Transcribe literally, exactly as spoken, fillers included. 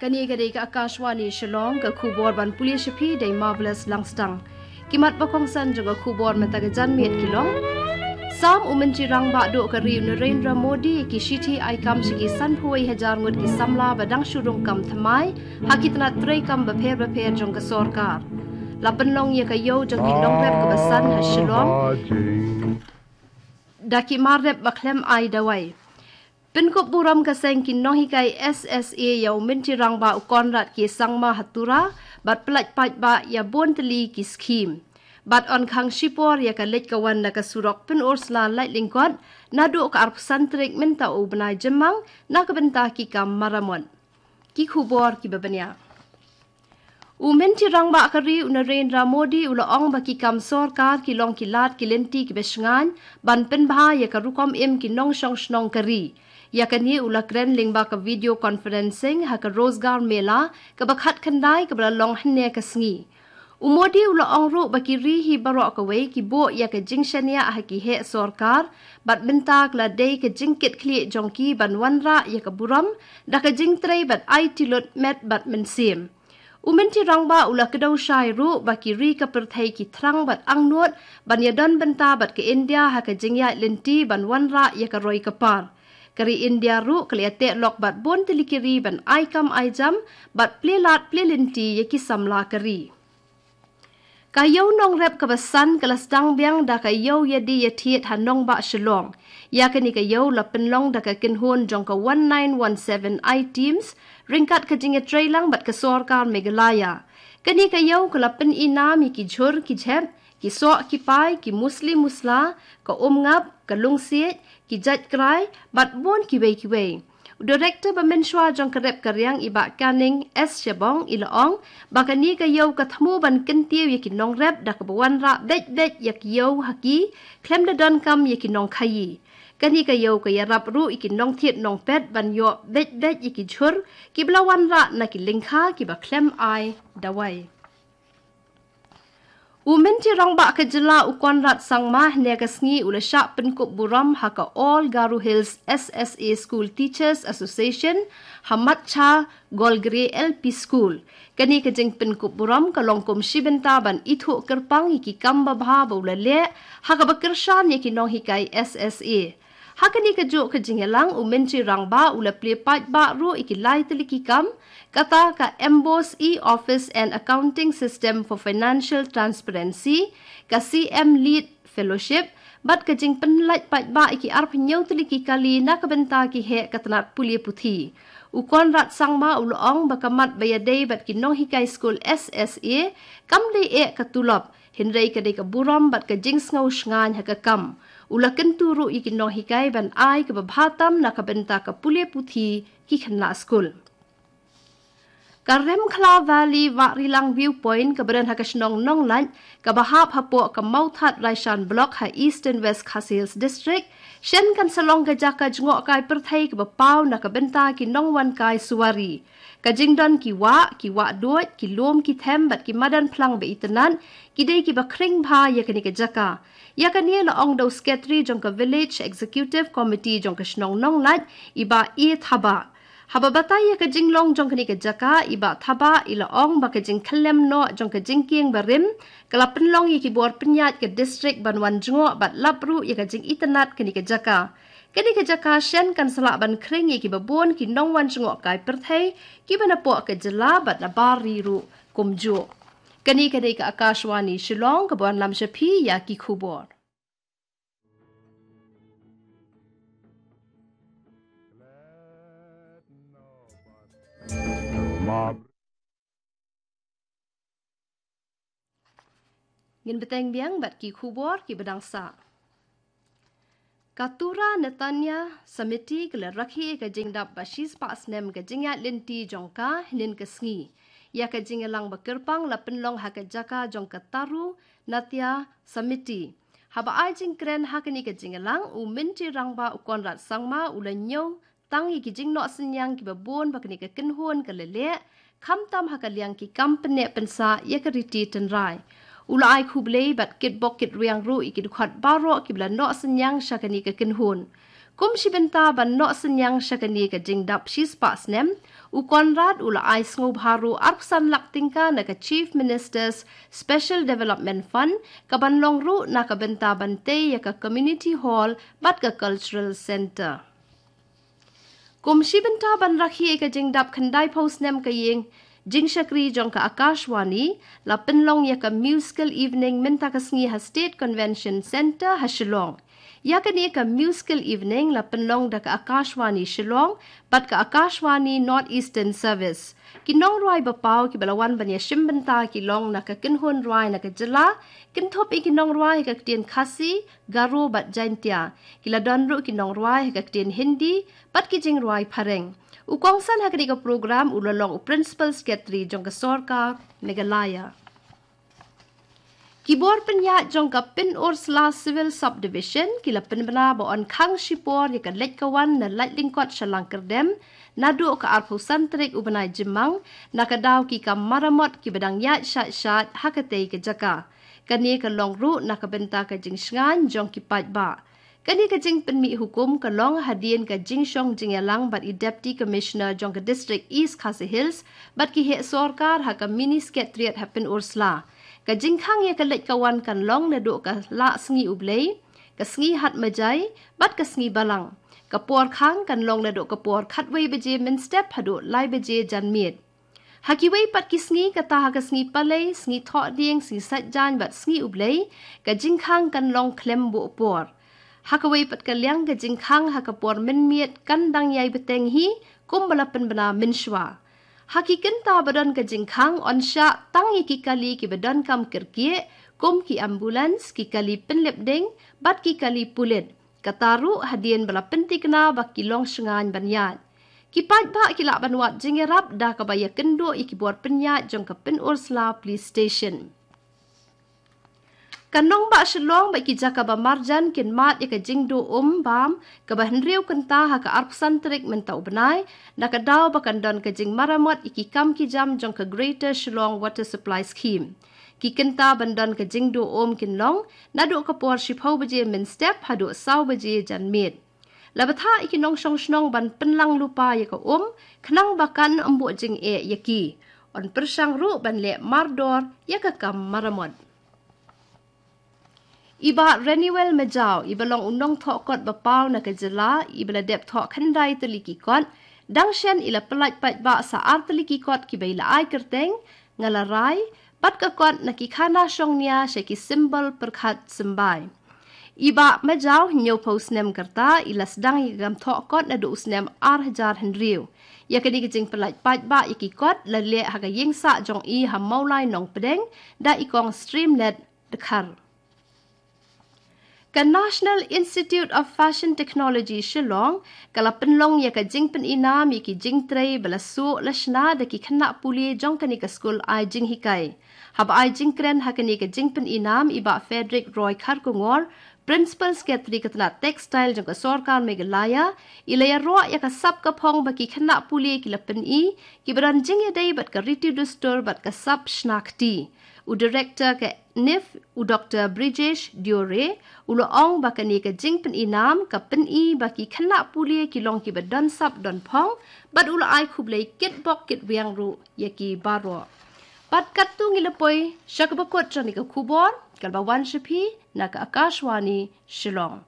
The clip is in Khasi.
Kane ka dei ka Akashvani Shillong, ka khubor ban pule sha phi da i Marvelous Langstang. Ki mat ba kongsan jong ka khubor mynta ka janmiet ki long: Sam u Myntri Rangbah duh ka ri u Narendra Modi ki shithi ai kam sha ki sanphew wei hajar ngut ki samla ba dang shu rung kam thymmai ha ki tnat treikam bapher bapher jong ka sorkar. La pynlong ïa ka ïew jong ki nongrep kaba san ha Shillong da ki mar rep ba khlem ai dawai. Pynkup burom ka seng ki nonghikai S S A ïa u Myntri Rangbah u Conrad K Sangma ha Tura, bad pyllait paidbah ïa bun tylli ki skhim. Bad yn khang shipor ïa ka leit ka wan na ka surok Pynursla Laitlyngkot naduh ka arphew san tarik mynta u bnai Jymmang na ka bynta ki kam maramot. Ki khubor kiba bniah. U Myntri Rangbah ka ri u Narendra Modi u la ong ba ki kam sorkar ki long ki lad ki lynti kiba shngaiñ ban pynbha ïa ka rukom im ki nongshong shnong ka ri. Ïa kane u la kren lyngba ka video conferencing ha ka Rozgar Mela kaba khatkhyndai kaba la long hynne ka sngi. U Modi u la ong ruh ba ki ri hi baroh kawei ki buh ïa ka jingshaniah ha ki heh sorkar, bad mynta ka la dei ka jingkitkhlieh jong ki ban wanrah ïa ka burom da ka jingtrei bad aiti lut met bad mynsiem. U Myntri Rangbah u la kdew shai ruh ba ki ri ka pyrthei ki thrang bad angnud ban ïadon bynta bad ka India ha ka jingïaid lynti ban wanrah ïa ka roi ka par. Ka ri India ruh ka la ïateh lok bad bun tylli ki ri ban ai kam ai jam bad plie lad plie lynti ïa ki samla ka ri. Ka ïew nongrep kaba san ka la sdang biang da ka ïew ïadie ïathied ha nongbah Shillong. Ïa kane ka ïew la pynlong da ka kynhun jong ka one nine one seven I teams ryngkat ka jingïatreilang bad ka sorkar Meghalaya. Kane ka ïew ka la pyn-i nam ïa ki jhur ki jhep, ki soh ki pai, ki musli musla, ka umngap, ka lungsiej, ki jait krai bad bun kiwei kiwei. U Director ba mynshuwa jong ka rep ka riang i Bah Canning S Shabong i la ong ba kane ka ïew ka thmu ban kyntiew ïa ki nongrep da kaba wanrah beit beit ïa ki ïew ha ki, khlem da donkam ïa ki nongkhaïi. Kane ka ïew ka ïarap ruh ïa ki nongthied nongpet ban ïoh beit beit ïa ki jhur kiba la wanrah na ki lyngkha kiba khlem ai dawai. U Myntri Rangbah ka jylla u Conrad Sangma hynne ka sngi u la shah pynkup burom ha ka All Garo Hills S S A School Teachers Association ha Matcha Golgre L P School. Kane ka jingpynkup burom ka long kum shi bynta ban ithuh kyrpang ïa ki kam babha ba u la leh ha kaba kyrshan ïa ki nonghikai S S A. Ha kane kajuh ka jingïalang u Myntri Rangbah u la plie paidbah ruh ïa ki lai tylli ki kam, kata ka MBOSE e-Office and Accounting System for Financial Transparency, ka C M Lead Fellowship, bad ka jingpynlait paidbah ïa ki arphew hynñiew tylli ki kali na ka bynta ki heh ka tnat pule puthi. U Conrad Sangma u la ong ba ka mat ba ïadei bad ki nonghikai skul S S A kam dei eh ka tulop, hynrei ka dei ka burom bad ka jingsngew shngaiñ ha ka kam. U la kyntu ruh ïa ki nonghikai ban ai kaba bha tam na ka bynta ka pule puthi ki khynnah skul. Ka Remkhla Valley Wahrilang Viewpoint kaba don ha ka shnong Nonglait kaba hap hapoh ka Mawthadraishan Block ha Eastern West Khasi Hills District, shen kan sa long ka jaka jngohkai pyrthei kaba paw na ka bynta ki nongwan kai suwari. Ka jingdon ki wah, ki wah duid, ki lum, ki them bad ki madan phlang ba itynnad ki dei kiba khring bha ïa kane ka jaka. Ïa kane la ong da u Secretary jong ka Village Executive Committee jong ka shnong Nonglait, i Bah A Thabah. Haba batai ïa ka jinglong jong kane ka jaka, i Bah Thabah i la ong ba ka jingkhyllem noh jong ka jingkieng barim ka la pynlong ïa ki bor pynïaid ka district ban wan jngoh bad lap ruh ïa ka jingitynnad kane ka jaka. Kane ka jaka shen kan sa lah ban khring ïa kiba bun ki nongwan jngohkai pyrthei kiba napoh ka jylla bad nabar ri ruh kumjuh. Kane ka dei ka Akashvani Shillong kaba wanlam sha phi ïa ki khubor. Ngin bteng biang bad ki khubor kiba dang sah. Ka Tura Netanya Samiti ka la rakhe ïa ka jingdap ba shispah snem ka jingïaid lynti jong ka hynnin ka sngi. Ïa ka jingïalang ba kyrpang la pynlong ha ka jaka jong ka Taru Natya Samiti. Haba ai jingkren ha kane ka jingïalang, u Myntri Rangbah u Conrad Sangma u la ñiew tang ïa ki jingnoh synñiang kiba bun ba kane ka kynhun ka la leh, khamtam ha ka liang ki kam pynneh pynsah ïa ka riti tynrai. U la ai khublei bad kitbok kitrwiang ruh ïa ki dkhot baroh kiba la noh synñiang sha kane ka kynhun. Kum shi bynta ban noh synñiang sha kane ka jingdap shispah snem, u Conrad u la ai sngewbha ruh arphew san lak tyngka na ka Chief Minister's Special Development Fund, ka ban long ruh na ka bynta ban tei ïa ka Community Hall bad ka Cultural Centre. Kum shi bynta ban rakhe ïa ka jingdap khyndaiphew snem ka ïing jingshakri jong ka Akashvani, la pynlong ïa ka Musical Evening mynta ka sngi ha State Convention Centre ha Shillong. Ïa kane ka Musical Evening la pynlong da ka Akashvani Shillong bad ka Akashvani North Eastern Service. Ki nongrwai ba paw kiba la wan ban ïashim bynta ki long na ka kynhun rwai na ka jylla, kynthup ïa ki nongrwai ha ka ktien Khasi, Garo bad Jaintia. Ki la don ruh ki nongrwai ha ka ktien Hindi bad ki jingrwai phareng. U kongsan ha kane ka program u la long u Principal Secretary jong ka sorkar Meghalaya. Ki bor pynïaid jong ka Pynursla Civil Subdivision ki la pynbna ba yn khang shipor ïa ka leit ka wan na Laitlyngkot sha Langkyrdem naduh ka arphew san tarik u bnai Jymmang, na ka daw ki kam maramot kiba dang ïaid shait shait ha katei ka jaka. Kane ka long ruh na ka bynta ka jingshngaiñ jong ki paidbah. Kane ka jingpynmih hukum ka long hadien ka jingshong jingïalang bad i Deputy Commissioner jong ka District East Khasi Hills bad ki heh sorkar ha ka Mini Secretariat ha Pynursla. Ka jingkhang ïa ka leit ka wan kan long naduh ka Lahsngi U Blei, ka Sngi Hat Majai bad ka Sngi Balang. Ka por khang kan long naduh ka por khatwei baje mynstep haduh lai baje janmiet. Ha kiwei pat ki sngi, kata ha ka Sngi Palei, Sngi Thohdieng, Sngi Saitjaiñ bad Sngi U Blei, ka jingkhang kan long khlem buh por. Ha kawei pat ka liang, ka jingkhang ha ka por mynmiet kan dang ïai bteng hi, kumba la pynbna mynshuwa. Ha ki kynta ba don ka jingkhang, yn shah tang ïa ki kali kiba donkam kyrkieh, kum ki ambulance, ki kali pynlip ding bad ki kali pulit. Kata ruh hadien ba la pynthikna ba ki long shngaiñ ban ïaid. Ki paidbah ki lah ban wad jingïarap da kaba ïakynduh ïa ki bor pynïaid jong ka Pynursla Police Station. Ka nongbah Shillong bad ki jaka ba marjan kin mad ïa ka jingduh um bam kaba hynriew kynta ha ka arphew san tarik mynta u bnai, na ka daw ba kan don ka jingmaramot ïa ki kam ki jam jong ka Greater Shillong Water Supply Scheme. Ki kynta ban don ka jingduh um kin long naduh ka por shiphew baje mynstep haduh saw baje janmiet. La bthah ïa ki nongshong shnong ban pynlang lypa ïa ka um, khnang ba kan ym buh jingeh ïa ki. Yn pyrshang ruh ban leh mardor ïa ka kam maramot. I Bah Renewel Majaw, iba long u nongthoh kot ba paw na ka jylla, iba la dep thoh khyndai tylli ki kot, dang shen i la pyllait paidbah sa ar tylli ki kot kiba i la ai kyrteng Nga La Rai bad ka kot Na Ki Khana Shong Nia sha ki symbol pyrkhat symbai. I Bah Majaw, hynñiewphew snem ka rta, i la sdang ïa ka kam thoh kot naduh u snem ar hajar hynriew. Ïa kane ka jingpyllait paidbah ïa ki kot la leh ha ka ïingsah jong i ha Mawlai Nongpdeng da i kong Streamlet Dkhar. Ka National Institute of Fashion Technology Shillong ka la pynlong ïa ka jingpyni nam ïa ki jingtrei ba la suh la shna da ki khynnah pule jong kane ka skul ai jinghikai. Haba ai jingkren ha kane ka jingpyni nam, i Bah Frederick Roy Kharkongor, Principal Secretary ka tnat Textile jong ka sorkar Meghalaya, i la ïaroh ïa ka sap ka phong ba ki khynnah pule ki la pyni, kiba don jingïadei bad ka riti dustur bad ka sap shna kti. U Director ka NIFT, u Doctor Brijesh Diore, u la ong ba kane ka jingpyni nam ka pyni ba ki khynnah pule ki long kiba don sap don phong, bad u la ai khublei kitbok kitwiang ruh ïa ki baroh. Bad katto ngi la poi sha kaba kut jong kane ka khubor, kaba wan sha phi na ka Akashvani Shillong.